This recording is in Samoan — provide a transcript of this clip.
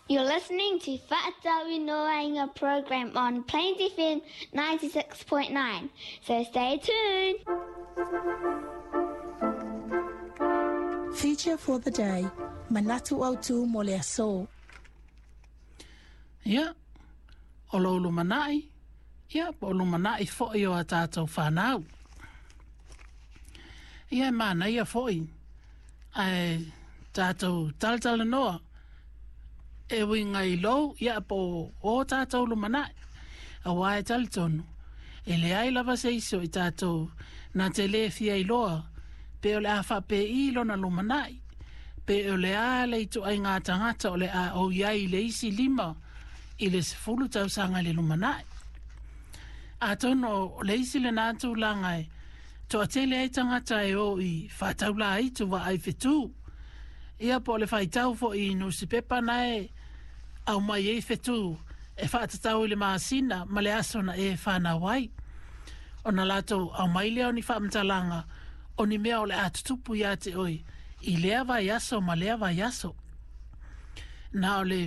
You're listening to Fa'atauinoaina program on Plains FM 96.9. So stay tuned. Feature for the day, Manatu Autu mo le aso. Ia, o lou lumanai, ia, po o lumanai foi o a tātou whanau. Ia, e mānaia foi, ae tātou talatalanoa, e uiga i lou, ia, po o tātou lumanai. Auā e talitonu, e leai lava se isi o i tātou na te lē fia iloa pe o le a faapēi lona lumanai, pe o le a le ituaiga tagata o le a ou i ai i le isi 5 i le 10 tausaga i le lumanai. Atonu o le isi lenā tulaga e toatele ai tagata e o i faataulāitu vaai fetū, ia po o le faitau foi i nusipepa na e aumai ai fetū e faatatau i le masina ma le aso na e whanau ai. Ona latou aumai lea o ni faamatalaga o ni mea o le a tutupu iā te oe i lea vaiaso ma lea vaiaso. Na o le